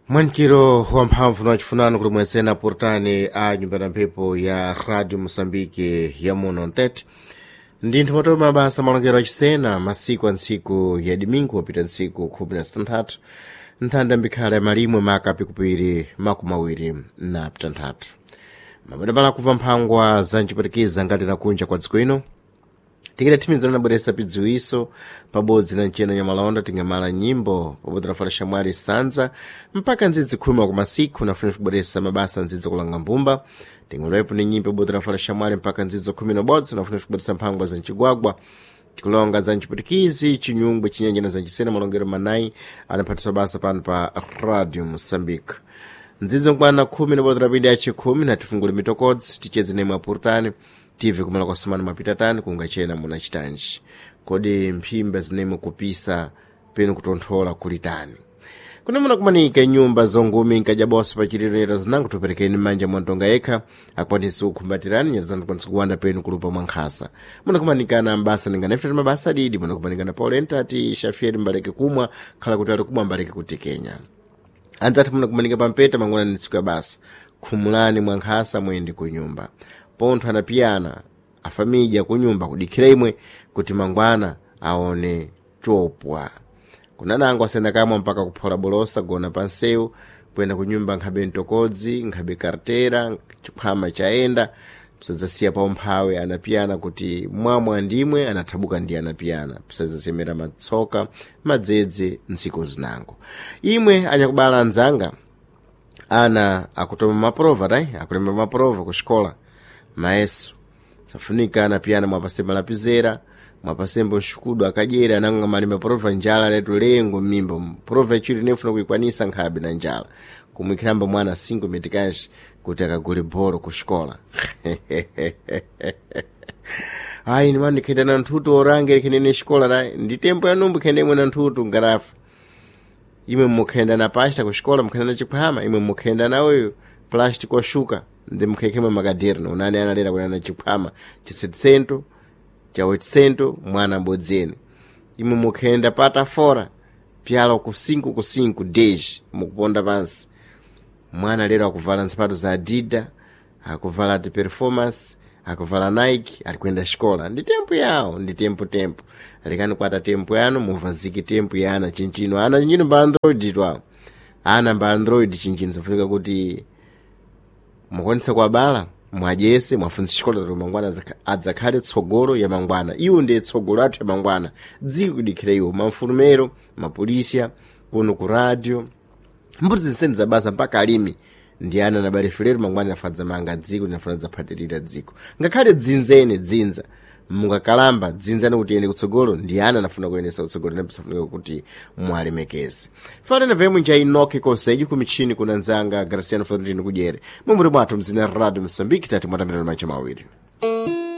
Mwankiro wamphamvu na chifunano kuli mwensena portani a nyumba ya mphepo ya Radio Mosambike ya muno ntete ndinthu matoma mabasa malongero achisena masiku a ntsiku ya domingo wapita ntsiku 16 nthanda mbikhala ya malimwe maka pikupiri makumi awiri na pitanthatu mabadabala kubva mphangwa za mchipwetikiza ngati nakunja kwa dziko ino tikadathimizana nabweresa pidziwiso pabodzi na mcheno nyamalonda tingamala nyimbo pabodzi na fala mwali sanza mpaka ndzidzi khumi wa kumasiku nafuna kubweresa mabasa ndzidzi kulanga mbumba tingalowepo ni nyimbo pabodzi na fala shamwali mpaka ndzidzo khumi na bodzi nafuna kubweresa mphangwa za mchigwagwa tikulonga za mchipwetikizi chinyungwe chinyenje na zanchisena malongero manayi anaphatiswa basa pano pa Radio Mosambike ndzidzo nkwana khumi na bodzi rapindi achikhumi na tifungule mitokodzi ticheze nemwe apurutani tive kumala kwasimana mapita tani kungachena muna chitanji kodi mphimba zinemwe kupisa penu kutonthola kuli tani kune munakumanika nyumba zongumi nkajabosa pachiliro nyeto zinango tuperekeni manja mwantonga yekha akwanise kukhumbatirani nyeto zanu kwanisa kuwanda penu kulupa mwankhasa munakumanikana mbasa ninganefutati mabasa adidi munakumanikana paulenta ati shafieri mbaleke kumwa khala kuti ali kumwa mbaleke kutikenya anzati munakumanika pampeta mangwana ni tsiku ya basa khumulani mwankhasa mwende kunyumba pontho anapiyana afamidya kunyumba kudikhira imwe kuti mangwana aone chopwa kunanango asenda kamwa mpaka kuphola bolosa gona pansewu kuyenda kunyumba nkhabe mtokodzi nkhabe kartera chikhwama chaenda pisadzasiya paumphawi anapiyana kuti mwamwa ndimwe anathabuka ndi anapiyana pisadzachemera matsoka madzedze ntsiku zinango imwe anyakubala anzanga ana akutoma maprova tai akulemba maprova kuxikola maeso safunika anapiyana mwapase malapizera mwapasembo nxukudu akadyera ananga malemba prova njala letu lengo m'mimba prova ichiri nefuna kuikwanisa nkhabe na njala kumwikhiramba mwana 5 metikaji kuti akagule bholo kuxikola ayi nimani ndikhenda na nthutu orange likhenene xikola tayi ndi tempo ya numbu khenda imwe na nthutu ngarafu imwe mukhenda na pasta kuxikola mukhenda na chikhwama imwe mukhenda na uyu plastic oshuka ndi mukhekhemwe makaderno unani analera kunana chikhwama cha 700 cha 800 mwana mbodzeni imwe mukhenda pata fora pyalo ku 5 ku 5 10 mukuponda pansi mwana lero akuvala nsapato za adida akuvala ti performance akuvala Nike ali kuyenda xikola ndi tempo yawo ndi tempo tempo lekani kwata tempo yanu muvazike tempo ya ana chinchino ana chinchino mba android twawo ana mba android chinchino safunika kuti mukwanitsa kuwabala mwadyese mwafunsa xikola kuti mangwana adzakhale tsogolo ya mangwana iwo ndiye tsogolo athu ya mangwana dziko kudikhira iwo mamfulumero mapolisiya kuno ku radio mbuti zinseni za basa mpaka alimi ndi ana nabale mangwana inafadza manga dziko linafuna dzaphatirira dziko ngakhale dzinzene dzinza mungakalamba dzinzani kuti iyende kutsogolo ndi ana anafuna kuyendesa kutsogolo napisafunika kuti mwalemekeze fanana vemwe nja inoki konseji kumichini kuna nzanga Graciano Florentino kudyere mumburi mwathu mzina Radio Mosambiki tati mwatambirana mancha mawiri.